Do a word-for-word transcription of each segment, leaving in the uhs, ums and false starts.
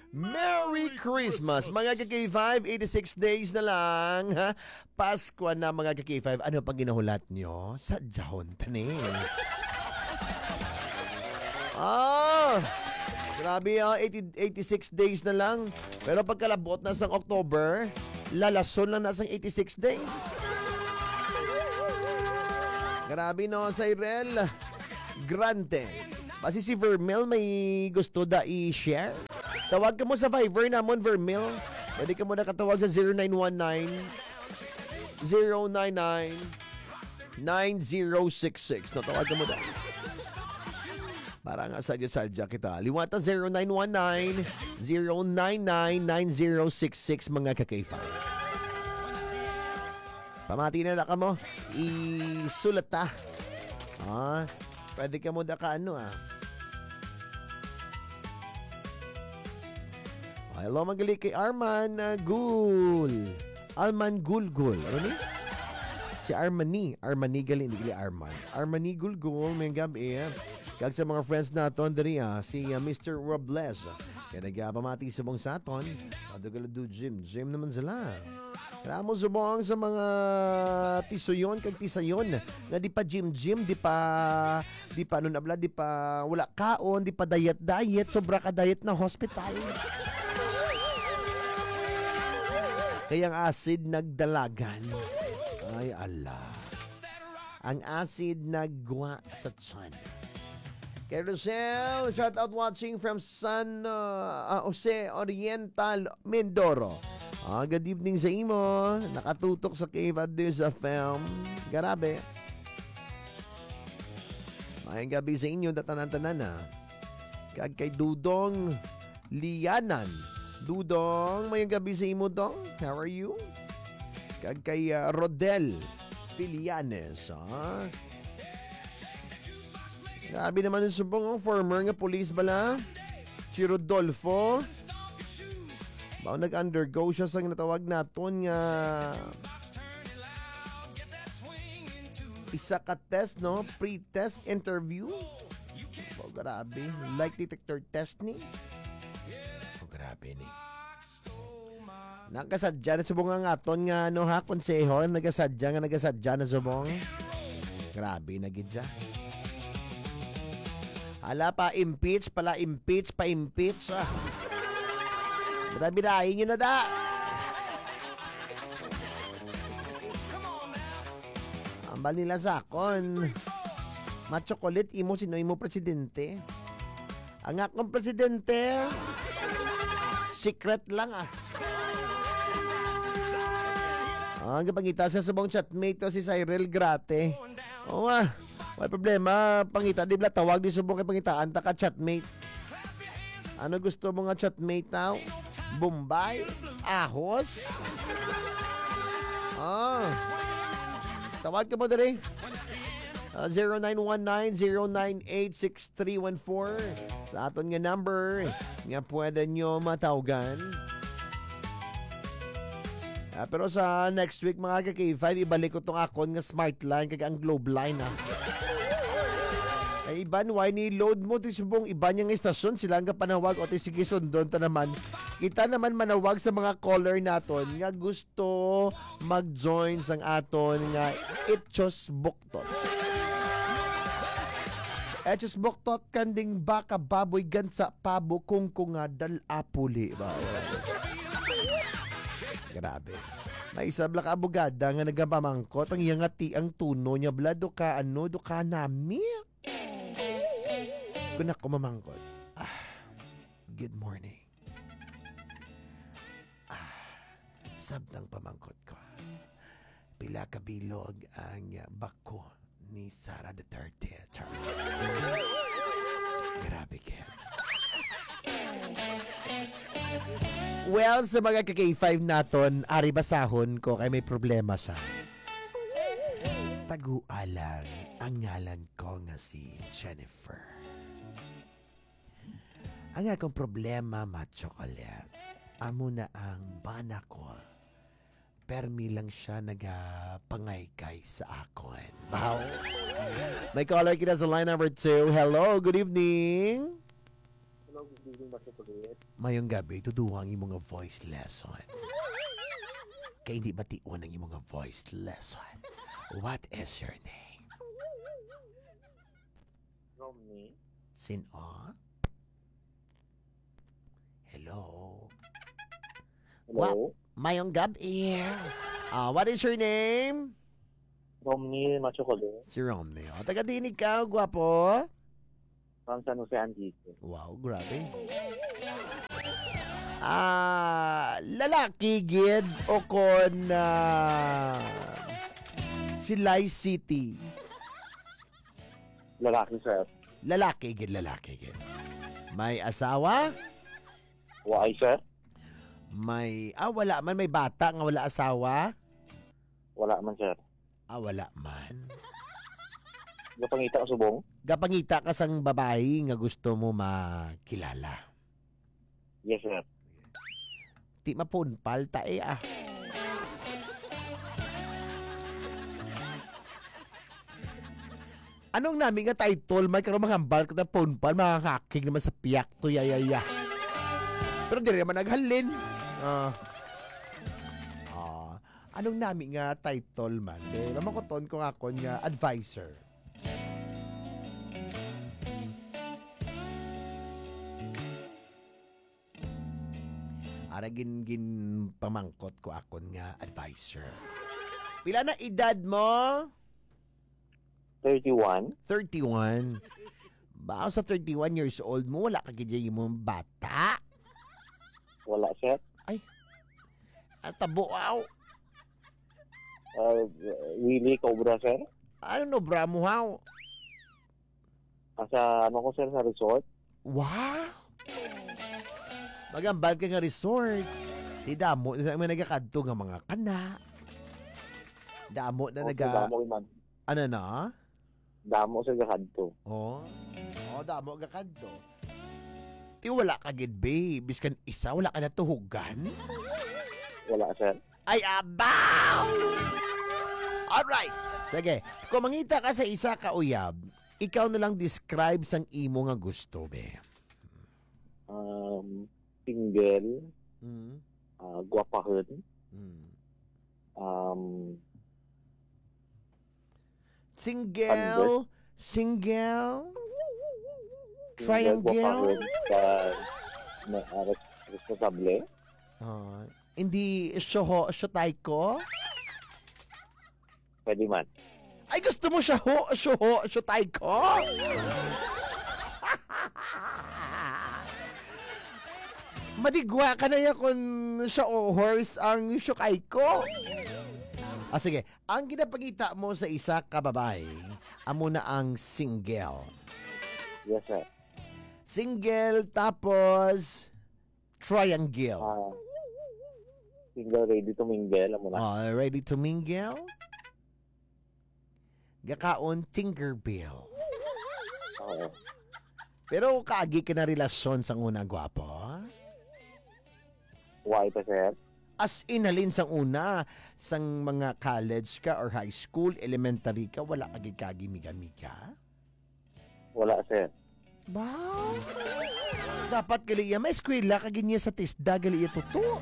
Merry Christmas, mga ka-K five. Eighty-six days na lang, ha? Pasko na, mga ka-K five. Ano pang ginahulat nyo? Sadyahon tani. Ah! Grabe, ah, eighty, eighty-six days na lang. Pero pagkalabot na sang October, lalason lang na sang eighty-six days. Grabe, no, Cyril? Grante. Basi si Vermel may gusto da i-share. Tawag ka mo sa Viber namon, Vermel. Pwede ka mo nakatawag sa zero nine one nine, zero nine nine, nine zero six six. No, tawag ka mo da. Para nga sadya-sadya kita. Liwata zero nine one nine, zero nine nine, nine zero six six, mga ka-K five. Pamati na na kamo. Isulat ta. Ah, pwede ka mo da ka ano, ah. Hello, magali kay Arman, ah, Gul. Arman Gulgul. Ano ni? Si Armani. Armani gali, hindi gali Arman. Armani Gulgul, may gabi. Kag sa mga friends naton diri, ah, si, ah, Mister Robles. Kaya nagpamati subong sa aton. Ato gala do gym. Gym naman sila. Kaya mo subong sa mga tisuyon kag tisayon nga di pa gym-gym, di pa, di pa ano na bala, di pa wala kaon, di pa diet-diet, sobra ka diet na hospital. Kaya ang acid nagdalagan. Ay, ala. Ang acid nagwa sa tiyan. Kay Rosel, shout out watching from San, uh, uh, Jose Oriental, Mindoro. Ah, good evening sa imo. Nakatutok sa K five News F M. Grabe. Maayong gabi sa inyo, tanan-tanan, ah. Kag kay Dudong Lianan. Dudong, maayong gabi sa imo, Dong. How are you? Kag kay, ah, Rodel Filianes, ah. Grabe naman yung subong, oh, former nga police bala. Si Rodolfo. Ba, nag-undergo siya sa natawag naton nga isa ka test, no? Pre-test interview. Oh, grabe. Lie detector test ni. Oh, grabe ni. Nagasadya na subong ang aton nga, ano, ha, konseho, nagasadya nga nagasadya na subong. Grabe na gid siya. Hala pa, impeach pala, impeach pa, impeach, ah. Grabe na, inyo na da. Ambal nila sa akon. Ma-chocolate, imo, sino imo presidente? Ang akong presidente, secret lang, ah. Ah, ang gapangita sa subong chatmate to si Cyril Grate. Oo, ah. May problema, pangita, di bala tawag di subong kay pangitaan ta ka chatmate. Ano gusto mo nga chatmate, tao? Bombay? Ahos? Ah. Tawag ka mo diri. Ah, zero nine one nine, zero nine eight six three one four. Sa aton nga number nga pwede nyo matawgan. Ah, pero sa next week, mga ka-K five, ibalik ko tong akon nga Smart Line kag ang Globe Line, ah. Ay, iban, why ni load mo? Ti subong iban nga istasyon, sila ang kapanawag o ti sige sundon ta naman. Kita naman manawag sa mga caller naton nga gusto mag-join sang aton nga Ichos Buktot. Ichos Buktot, kanding, baka, baboy, gansa, pabo, kungkunga, dal-a, puli. Ba? Grabe. May isa bala ka abogada nga nagapamangkot ang iya nga ti ang tuno niya bala do ka ano, do ka nami. Kung ako mamangkot, ah, good morning. Ah, sabtang pamangkot ko. Pila ka bilog ang bako ni Sara Duterte? Char. Grabe, Ken. Well, sa mga ka-K five naton, ari basahon ko kay may problema sa tagualang ang ngalan ko nga si Jennifer. Ang akong problema, ma-chocolate, amo na ang bana ko. Permi lang siya nagapangaykaay sa akon. Wow. May caller kita sa line number two. Hello, good evening. Hello, good Mayong gabi, tuduha ang imo nga voice lesson. Kay hindi bation ang imo nga voice lesson. What is your name? Romney. Sin-o? Hello? Hello? Wa-, mayong gabi. Ah, what is your name? Romney Machucole. Si Romney. O, taga diin ikaw, gwapo? From San Jose, Antique. Wow, grabe. Ah, lalaki gid o kon, ah, Silay City? Lalaki, sir. Lalaki gid, lalaki gid. May asawa? Waay, sir. May, ah, wala man. May bata nga wala asawa? Wala man, sir. Ah, wala man. Gapangita ka subong? Gapangita ka sang babayi nga gusto mo makilala? Yes, sir. Ti mapunpal ta eh, ah. Anong nami nga title man karon, manghambal ka na punpal, mga hakig naman sa piyak to, yayaya. Pero diri naman naghalin. Ah. Ah. Anong nami nga title man? Eh, mamakuton ko nga akon nga advisor. Ara gin, gin pamangkot ko akon nga advisor. Pila na edad mo? Thirty-one. Thirty-one. Ba, sa thirty-one years old mo, wala ka gid mo bata? Wala, sir. Ay. Ang tabo, aw. Ah, Willie Cobra, sir. Ano no, bra mo, haw? Asa, ano ko, sir, sa resort? Wow! Magambal ka nga resort. Di damo na may nagakadto nga mga kana. Damo na Okay, naga-, damo man. Ano na? Damo sa gakadto. Oh. Oh, damo gakadto. Ti wala ka gid, be. Biskan isa, wala ka natuhugan? Wala, sir. Ay, abaw! Alright. Sige. Kung mangita ka sa isa ka uyab, ikaw na lang describe sang imo nga gusto, be. Um, single, Mm. ah, gwapahon. Mm. Um, Single, Ano? Single, Single, triangle. Gwapahon, ka, na, ah, res-, responsable. Ah, hindi syoho, syotay ko? Pwede man. Ay, gusto mo siya ho, syoho, syotay ko? Madigwa ka na ya kung siya o horse ang syokay ko. Ah, sige. Ang ginapangita mo sa isa ka babae, amo na ang single. Yes, sir. Single, tapos triangle. Ah, single, ready to mingle, amo na. Ah, ready to mingle? Gakaon, Tinkerbell. Oo. Pero kaagi ka na relasyon sang una, gwapo? Why pa, sir? As in, halin sang una, sang mga college ka or high school, elementary ka, wala ka gid kaagi miga-miga? Wala, sir. Ba? Dapat gali iya, may eskwela ka gid niya sa TESDA, gali iya tuto.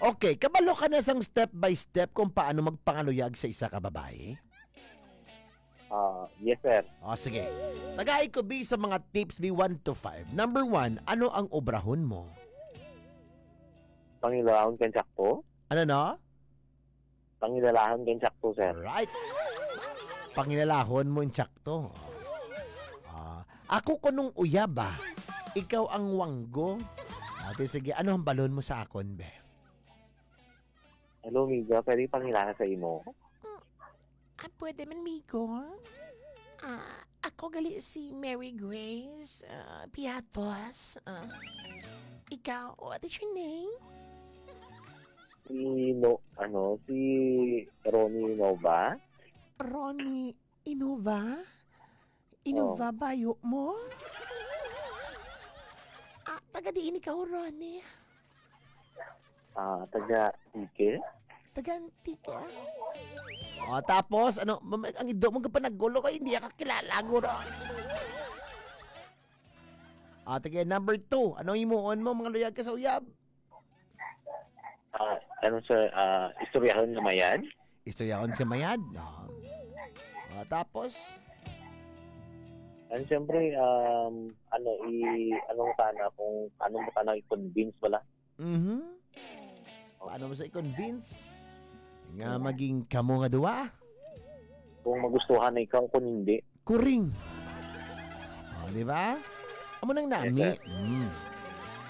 Okay, kabalo ka na sang step by step kung paano magpangaluyag sa isa ka babae? Ah, yes, sir. O, sige. Tagai ko, bi, sa mga tips, bi, one to five. Number one, ano ang obrahon mo? Pangilahon kang sakto. Ano, no? Pangilahon kang sakto, sir. Right. Pangilahon mo ang sakto. Ah, ako kunong uyab, ah. Ikaw ang wanggo. Ate, sige, ano ang balon mo sa akon, be? Hello, Miga. Pwede pangilaha sa imo? Mm. Ah, pwede man, Migo. Ah, ako gali si Mary Grace, ah, Piatos. Ah, ikaw, what is your name? Si No-, ano, si Ronnie Nova. Ronnie Inova? Inova Oh. bayo mo? Ah, taga diin ikaw, Ronnie? Ah, taga Antique. Taga Antique, ah? O, tapos, ano, mam-, ang ido mo ka pa naggulo ko, hindi ka kilala, guro. Ah, sige, number two. Anong himuon mo, mga luyag ka sa uyab? Ah, ano, sir, ah, istoryahon nga mayad? Istoryahon sa mayad. Ah. Ah, tapos? And siyempre, um, ano, i, anong sana, kung anong sana i-convince bala? Mhm. Paano mo sa i-convince nga maging kamo nga duwa? Kung magustuhan na ikaw, kung hindi. Kuring. Oh, di ba? Amo nang nami. Yes, sir. Mm.